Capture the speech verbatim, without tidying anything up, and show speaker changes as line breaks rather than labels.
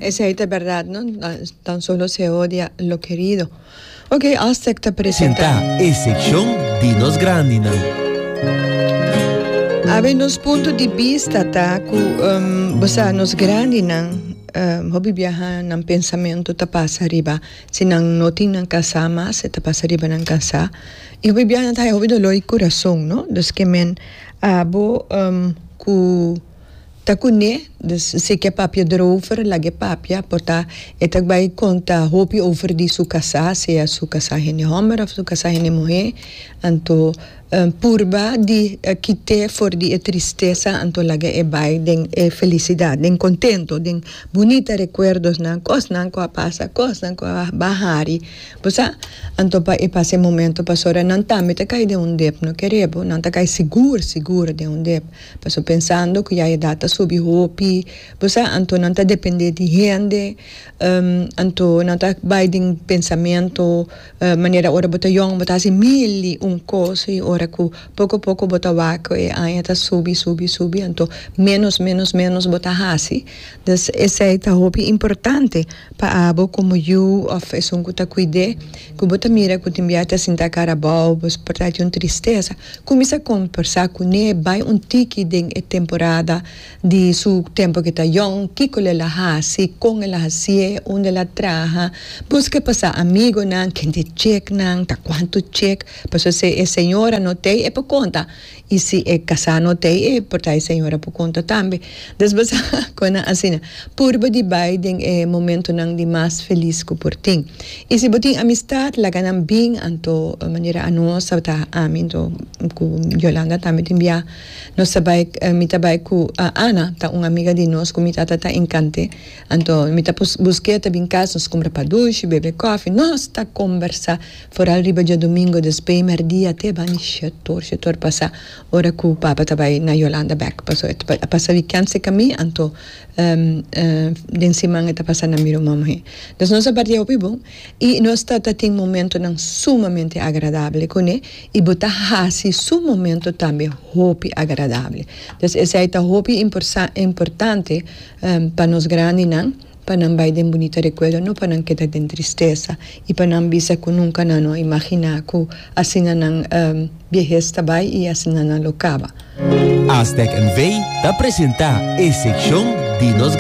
Esey ta berdad, no? Tan solo se odia lo querido. Ok, Astec ta presenta.
Presenta e seccion di nos grandinan.
Awe nos punto di bista ta cu um, bo sa, nos grandinan um, hopi biaha nan pensamento ta pasa riba si nan no tin nan casa mas, ta pasa riba nan casa y hopi biaha nan ta hopi dolor di curason, no? Dus ke men abo um, cu ta kuné, dus si ke papia erover, lag'e papia, por ta e ta bai conta hopi over di su casa, sea su casa hende homber of su casa hende muher, anto um, purba di uh, kit'e for di e tristesa, anto laga e bai den e felicidad, den contento, den bunita recuerdos nan, cosnan cu a pasa, cosnan cu a b'a hari, bo sa, anto pa e pasa e momento, pasobra nan tambe ta cay den un dep, no kere bo, nan ta cay sigur, sigur den un dep, paso pensando cu ya edad ta subi hopi, bo sa, anto nan ta depende di hende, um, anto nan ta bai den pensamento, uh, manera ora bo ta yong, bo ta haci mil y un cos, y ora cu poco poco bo ta wak e aña ta subi, subi, subi, anto menos, menos, menos bo ta haci. Dus esey ta hopi importante pa abo como yu of esun cu ta cuid'e, cu bo ta mira cu tin biaha ta sinta cara abou, bo por ta un tristesa. Cuminsa combersa cune, bai un tiki den e temporada di su tempo cu ta yong, kico el a haci, con el a haci'e, unda el a traha, busca pasa amigonan, kende checknan, ta cuanto check, paso si e señora no t'ey, e por conta, y si e casa no t'ey, e por ta e señora por conta tambe. Dus bo sa con asina, purba di bai den e momentonan di mas feliz cu por tin. Y si bo tin amistad, laga nan bin, anto manera anos ta ami anto cu Yolanda tambe tin bia, nos ta bai, mi ta bai cu Ana, ta un amiga di nos cu mi tata ta encant'e, anto mi ta busque ta bin cas, nos compra padushi, bebe koffie, nos ta conversa, vooral riba diadomingo despues merdia te bani shetor, shetor pasa, ora cu papa ta bai na Yolanda bek, paso e ta pasa weekend cerca mi, anto um, uh, den siman e ta pasa na mi ruman muher. Dus nos a parti hopi bon, y nos ta ta tin momentonan sumamente agradable cune, y bo ta haci su momento tambe hopi agradable. Dus esey ta hopi importante um, pa nos grandinan, pa nan bai den bunita recuerdo, no pa nan keda den tristesa, y pa nan bisa cu nunca nan no imagina cu asina nan um, biehes ta bai y asina nan lo caba.
Astec N V ta presenta e seccion di nos